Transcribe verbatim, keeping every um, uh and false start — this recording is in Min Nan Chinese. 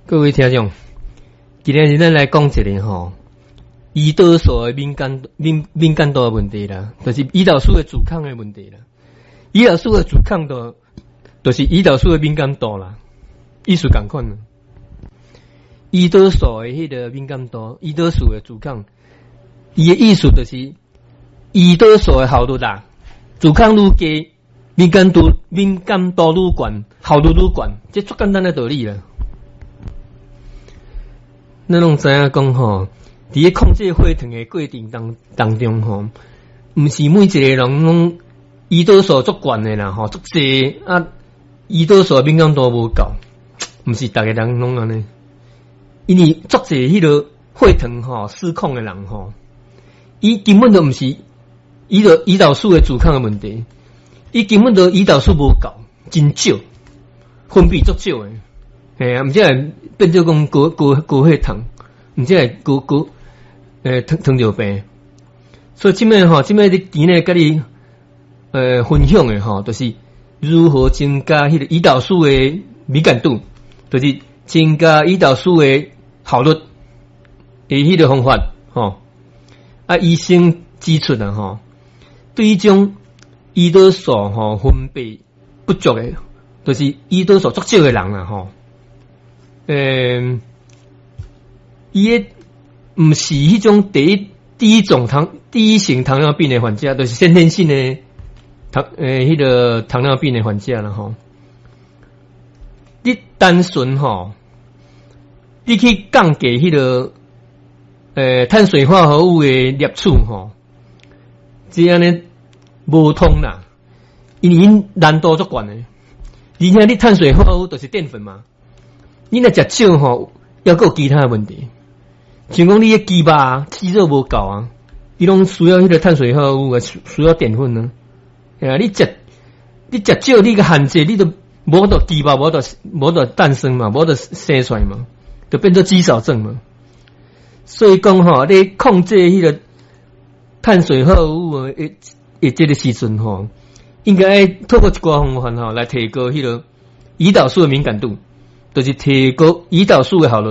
各位聽眾，今日咱來講一個吼，胰島素的敏感敏敏感度的問題啦，就是胰島素的阻抗的問題啦。胰島素的阻抗度，就是胰島素的敏感度啦，意思仝款啦。胰島素的彼個敏感度，胰島素的阻抗，伊的意思就是胰島素的效率啦，阻抗愈低，敏感度敏感度愈懸，效率愈懸，這足簡單的道理啦。咱攏知影講吼，佇咧控制血糖的過程當當中吼，毋是每一個人攏胰島素足懸的啦，吼，足濟啊，胰島素敏感度無夠，毋是逐个人攏按呢。因為足濟彼個血糖吼失控的人吼，伊根本就毋是胰島胰島素的阻抗的問題，伊根本就胰島素無夠，真少，分泌足少的。嘿啊，毋才會變做講高高高血糖，毋才會高高欸糖糖尿病。所以這擺吼，這擺你今日佮你呃分享的吼，就是如何增加彼個胰島素的敏感度，就是增加胰島素的效率的彼個方法吼。啊，醫生指出啊吼，對這種胰島素吼分泌不足的，就是胰島素足少的人啊吼。欸，伊的毋是彼種第一第一種糖第一型糖尿病的患者，就是先天性的糖欸，彼個糖尿病的患者啦吼。你單純吼，你去降低彼個欸碳水化合物的攝取吼，這按呢無通啦，因為𪜶難度足懸的，而且你碳水化合物就是澱粉嘛。你若食少吼，猶閣有其他的問題，像講你的肌肉肌肉無夠啊，伊攏需要彼個碳水化合物啊，需要澱粉啊。啊，你食你食少，你個限制，你都無法度肌肉無法度無法度誕生嘛，無法度生出來嘛，就變做肌少症嘛。所以講吼，你控制彼個碳水化合物的的這個時陣吼，應該透過一寡方法吼來提高彼個胰島素的敏感度，就是提高胰島素的效率。